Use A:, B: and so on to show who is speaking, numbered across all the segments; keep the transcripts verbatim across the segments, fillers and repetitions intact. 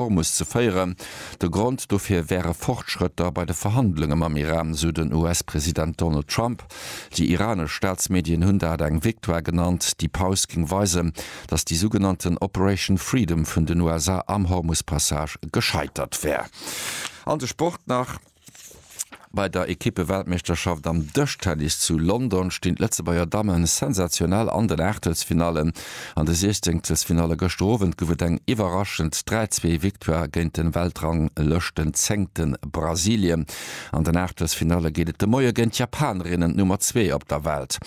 A: Hormus ze féieren. De Grond dofir wäre Fortschrëtter bei de Verhandlunge mam Iran, sou den U S-President Donald Trump. Déi iranesch Staatsmedien hunn dat eng Victoire genannt. Déi Paus géing weisen, datt déi sougenannten Operation Freedom vun den U S A am Hormus-Passage gescheitert wär. An de Sport nach. Bei der Ekippe-Weltmeeschterschaft am Dëschtennis zu London stinn d'Lëtzebuerger Dammen sensationell an den Aachtelsfinallen. An de Siechzengsfinalle gëschter Owend gouf et eng iwwerraschend dräi-zwee Victoire géint den Weltranglëschten-Zéngte Brasilien. An den Aachtelsfinalle geet et de Moie géint d'Japanerinnen, d'Nummer zwee op der Welt.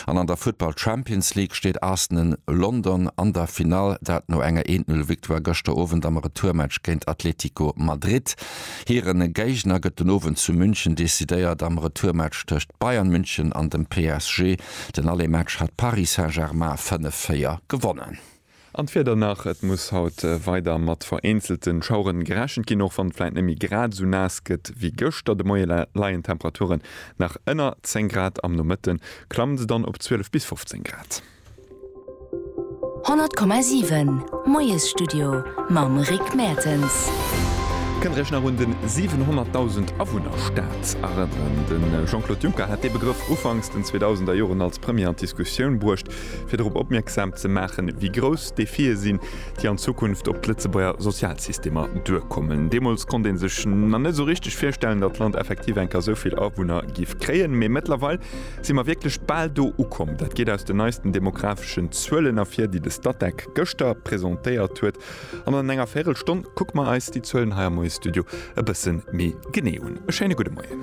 A: An an der Futtball Champions League steet Arsenal London an der Finall, dat no enger eent-null Victoire gëschter Owend am Retourmatch géint Atletico Madrid. Hire Géigner gëtt den Owend zu München decidéiert am Retourmatch tëscht Bayern München an dem P S G. Den Aller-Match hat Paris Saint-Germain fënnef véier gewonnen.
B: An d'Wieder nach, et muss haut weider mat vereenzelten Schaueren gerechent ginn, och wann et vläicht net méi grad esou naass gëtt wéi gëschter. De Moie leien d'Temperaturen nach ënner zéng Grad, am Nomëtte klammen se dann op zwielef bis fofzéng Grad.
C: honnert Komma siwen Moiesstudio mam Rick Mertens.
B: Kënnt der iech nach un den siwenhonnertdausend Awunner-Staat erënneren? De Jean-Claude Juncker hat dee Begrëff ufanks den zweedausender Joren als Premier an d'Diskussioun bruecht, fir dorop opmierksam ze maachen, wéi grouss d'Defie sinn, déi an Zukunft op d'Lëtzebuerger Sozialsystemer duerkommen. Deemools konnt ee sech nach net esou richteg virstellen, datt d'Land effektiv eng Kéier esou vill Awunner géif kréien. Mee mëttlerweil si mer wierklech bal do ukomm. Dat geet aus den neisten demografeschen Zuelen ervir, déi de Statec gëschter presentéiert huet. An an enger Véierelstonn kucke mer eis déi Zuelen hei am Moiesstudio e bësse méi genee un. E schéine gudde Moien.